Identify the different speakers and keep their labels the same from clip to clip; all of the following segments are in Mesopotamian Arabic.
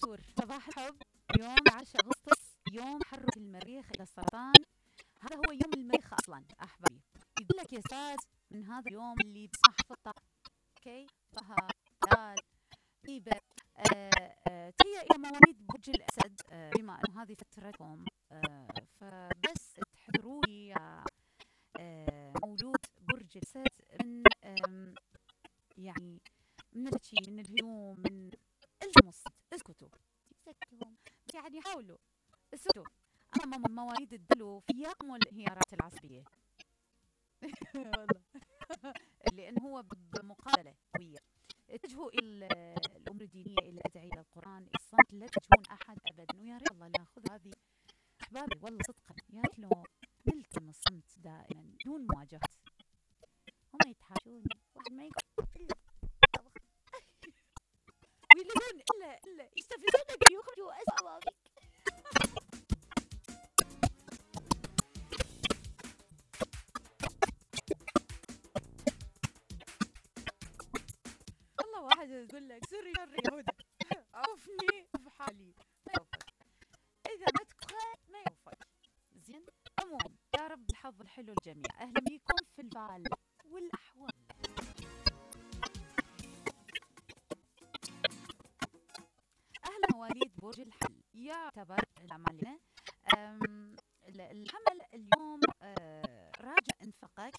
Speaker 1: الزهور صباح الحب. يوم 10 أغسطس يوم تحرك المريخ إلى السرطان. هذا هو يوم المريخ أصلا أحبابي. يقول لك يا أستاذ من هذا اليوم اللي بصح في الطاقة. أوكي طه دال طيبة. تهيأ إلى مواليد برج الأسد. بما أنه هذه فترتكم فبس تحذروا لي يا مولود برج الأسد من يعني من الشي من الهجوم من الصمت. اسكتوا بس يعني حاولوا اسكتوا امام مواليد الدلو فيكم الانهيارات العصبيه. والله لان هو بمقابله قويه. اتجهوا الى الامور الدينيه الى الادعيه الى القران الصمت لا تجهون احد ابدا. ويا ريت الله ناخذ هذه احبابي والله صدقا يا ريت لو نلتم الصمت دائما دون مواجهه. هم يتحاشون واحد ما يقول الا ويلون الا يستفزونك يخرجوا اسوأ فيك. والله واحد يقول لك سري شر يا هدى عوفني بحالي ما يوفق. اذا ما تكفى ما يوفق. زين عموما يا رب الحظ الحلو الجميع. اهلا بيكم في الفال والاحوال. أهلا مواليد برج الحمل. يعتبر العمل الحمل اليوم راجع انفاقك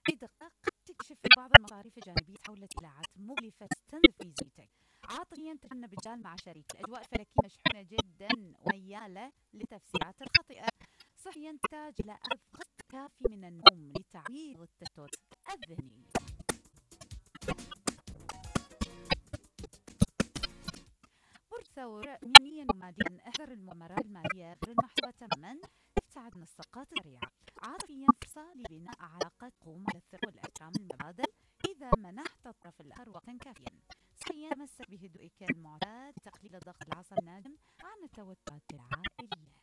Speaker 1: بدقة. قد تكشف بعض المصاريف الجانبية تحولت إلى عادة مغلفة تستنزف ميزانيتك. عاطفيا تجنب الجال مع شريك. الأجواء الفلكية مشحونة جدا وميالة للتفسيرات الخاطئة. صحيا تحتاج إلى أخذ قسط كافي من النوم لتعويض التشتت الذهني. برج ثور يوميا وماديا احذر المؤامرات الماليه غير المحسوبه تماما. ابتعد من الصفقات السريعه. عاطفيا فرصه لبناء علاقات تقوم على الثقه والاحترام المتبادل اذا منحت الطرف الاخر وقتا كافيا. صحيا تمسك بهدوئك المعتاد تقليل ضغط العصب الناجم عن التوترات العائليه.